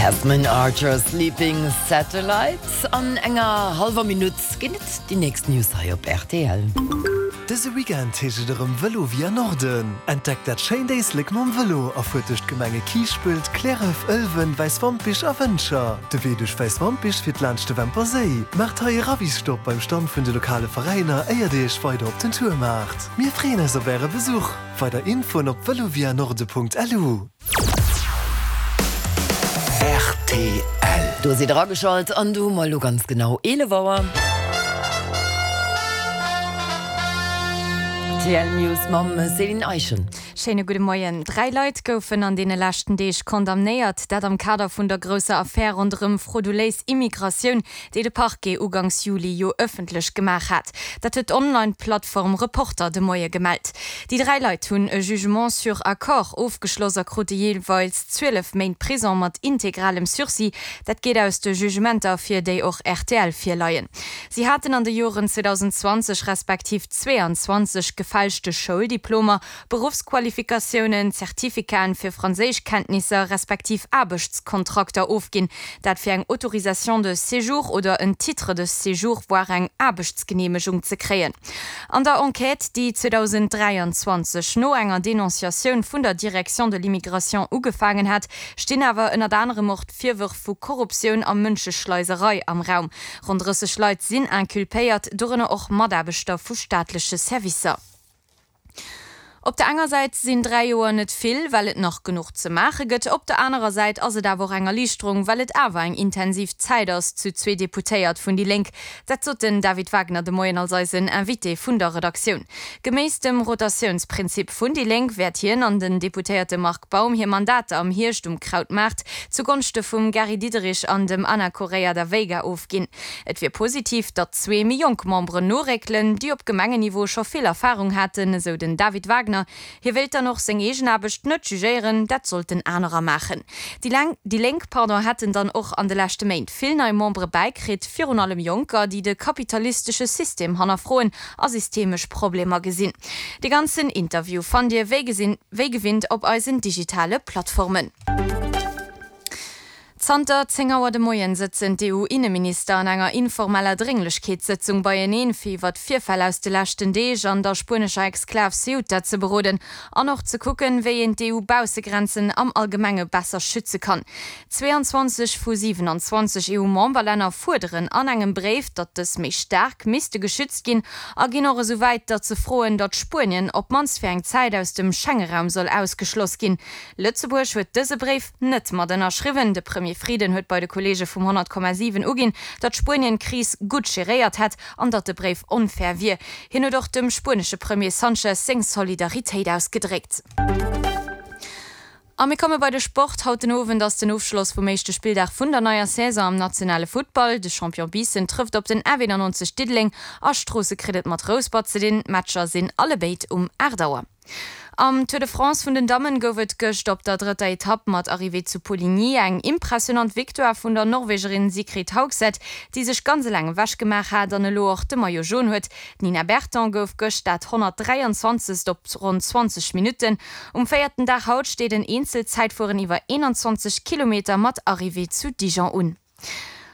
Tasman Archer, Sleeping Satellites. An enger hallwer Minutt ginn et déi nächst News hei op rtl. Dëse Weekend heescht et erëm Vëlo via Norden. Entdeckt dat schéint Éislek mam Vëlo a fuert duerch d'Gemenge Kiischpelt, Cliärref, Ëlwen, Wäiswampich a Wëntger. De Wee duerch Wäiswampich fiert laanscht de Wämper Séi. Maacht hei e Ravisstopp beim Stand vun de lokale Veräiner éier dir iech weider op den Tour maacht. Mir freeën eis op äre Besuch! Weider Infoen op velovianorde.lu. Rtl. Do sidd der ageschalt an do hu mer elo ganz genau 11 Auer. Rtl News mam Céline Eischen. Schéine gudde Moien. 3 Leit goufen an deene leschten Deeg condamnéiert, dat am Kader vun der grousser Affär ronderëm frauduléis Immigratioun, déi de Parquet ugangs Juli jo ëffentlech gemaach hat. Dat huet d'Online-Plattform Reporter de Moie gemellt. Déi 3 Leit hunn e Jugement sur accord ofgeschloss a krute jeeweils 12 Méint Prison mat integralem Sursis. Dat geet aus de Jugementer ervir, déi och rtl virleien. Si haten an de Joren 2020 respektiv 22 gefälschte Schouldiplomer, Beruffsqualifikatiounen, Certificaten fir Franséischkenntnisser respektiv Aarbechtskontrakter ofginn, dat fir eng Autorisation de séjour oder en Titre de séjour, voire eng Aarbechtsgeneemegung ze kréien. An der Enquête, déi 2023 no enger Denonciatioun vun der Direction de l'immigration ugefaangen hat, stinn awer ënnert anerem och d'Virwërf vu Korruptioun a Mënscheschleiserei am Raum. Ronn 30 Leit sinn inculpéiert, dorënner och Mataarbechter vu staatleche Servicer. Op der enger Säit sinn 3 Joer net vill, well et nach genuch ze maache gëtt. Op der anerer Säit ass et awer och eng Erliichterung, well et awer eng intensiv Zäit ass, zu zwee Deputéiert vun déi Lénk. Dat sot den David Wagner de Moien als eisen Invité vun der Redaktioun. Geméiss dem Rotatiounsprinzip vun déi Lénk wäert hien an den Deputéierte Marc Baum hir Mandater am Hierscht um Krautmaart zu Gonschte vum Gary Diderich an dem Ana Correia da Veiga ofginn. Et wier positiv, datt zwee méi jonk Memberen noréckelen, déi op Gemengenniveau scho vill Erfarung haten, esou den David Wagner. Hie wéilt dann och seng eegen Aarbecht net jugéieren, dat sollten anerer maachen. Déi Déi Lénk pardon, hätten dann och an de leschte Méint vill nei Membere bäikritt, virun allem Jonker, déi de kapitalistesche System hannerfroen a systemesch Problemer gesinn. De ganzen Interview fannt Dir wéi gesinn wéi gewinnt op eisen digitale Plattformen. Zanter 10 Auer de Moien sëtzen d'EU-Inneminister an enger informeller Drénglechkeetssëtzung beieneen, fir iwwer d'Virfäll aus de leschten Deeg an der spuenescher Exklav Ceuta ze beroden an och ze kucken, wéi een d'EU-Baussegrenzen am Allgemenge besser schütze kann. 22 vu 27 EU-Memberlänner fuerderen an engem Bréif, datt dës méi staark misste geschützt ginn a ginn och esou wäit, datt se froen, datt Spuenien op d'mannst fir eng Zäit aus dem Schengeraum soll ausgeschloss ginn. Lëtzebuerg huet dëse Bréif net mat ënnerschriwwen. De Premier Frieden huet bei de Kolleege vum 100,7 uginn, datt Spuenien d'Kris gutt geréiert hätt an datt de Bréif onfair wier. Hien huet och dem spuenesche Premier Sanchez seng Solidaritéit ausgedréckt. A mir komme bei de Sport. Haut den Owend ass den Ofschloss vum éischte Spilldag vun der neier Saison am nationale Futtball. De Champion Biissen trëfft op den F91 Diddeleng a Stroosse kritt et mat Rouspert ze dinn. D'Matcher sinn allebéid um 8 Auer. Am Tour de France vun den Dammen gouf et gëscht op der drëtter Etapp mat Arrivée zu Poligny eng impressionant Victoire vun der Norwegerin Sigrid Haugset, déi sech ganz eleng ewech gemaach hat an elo och de Maillot Jaune huet. D'Nina Berton gouf gëscht dat 123. op ronn 20 Minutten. Um véierten Dag haut steet en Eenzelzäitfueren iwwer 21 Kilometer mat Arrivée zu Dijon un.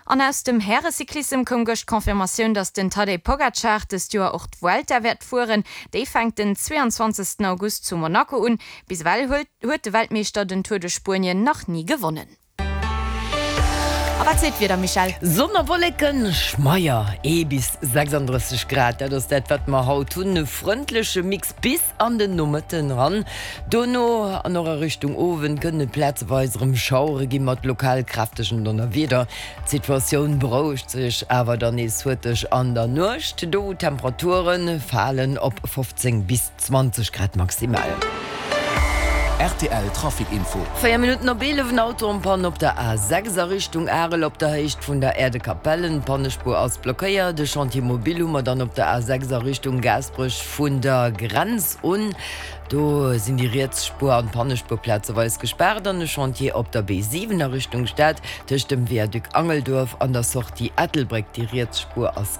An aus dem Härecyclissem koum gëscht d'Confirmatioun, datt den Tadej Pogacar dëst Joer och d'Vuelta wäert fueren. Déi fänkt den 22 August zu Monaco un. Bis ewell huet de Weltmeeschter den Tour de Spuenien nach ni gewonnen. A wat seet d'Wieder, Michèle? Sonn a Wolleken, schmeier, ee bis 36 Grad, dat ass dat wat mer haut hunn. E frëndleche Mix bis an den Nomëtten eran. Dono an och a Richtung Owend kënnen et plazeweis erëm Schauere gi mat lokal kräftegen Donnerwieder. D'Situatioun berouegt sech awer dann nees huerteg an der Nuecht, do wou d'Temperature falen op 15 bis 20 Grad maximal. Rtl Trafic Info. 4 Minutten op 11, en Auto en Panne op der A6 a Richtung Arel op der Héicht vun der Aire de Capellen. D'Pannespuer ass blockéiert. E Chantier mobile hu mer dann op der A6 a Richtung Gaasperech vun der Grenz un. Do sinn déi riets Spuer an d'Pannespuer plazeweis gespaart an e Chantier op der B7 a Richtung Stad tëscht dem Viaduc Angelduerf an der Sortie Ettelbréck. Déi riets Spuer ass.